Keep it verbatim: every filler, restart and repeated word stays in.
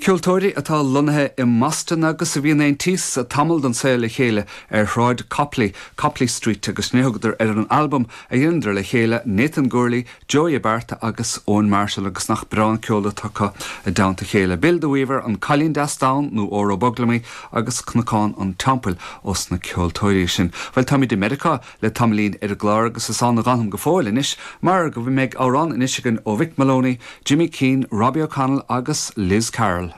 Ceoltóirí atá lonnaithe i mBoston agus a bhíonn aontaithe tamall den saol le chéile ar Shráid Copley, Copley Street agus ní thugadar ar an albam a dhéanadar le chéile Nathan Gourley, Joey Abarta agus Owen Marshall agus nach breá an ceol atá acu i dteannta chéile. Bill the Weaver an Cailín Deas Donn nó Óró Boglamaí agus Cnocán an Teampaill ós na ceoltóirí sin. Well táimid i Meiriceá le tamaillín ar an gclár agus is ann a fhanfaimid go fóill anois, mar go mbeidh amhrán anois againn ó Mhick Moloney, Jimmy Keane, Robbie O'Connell agus Liz Carroll.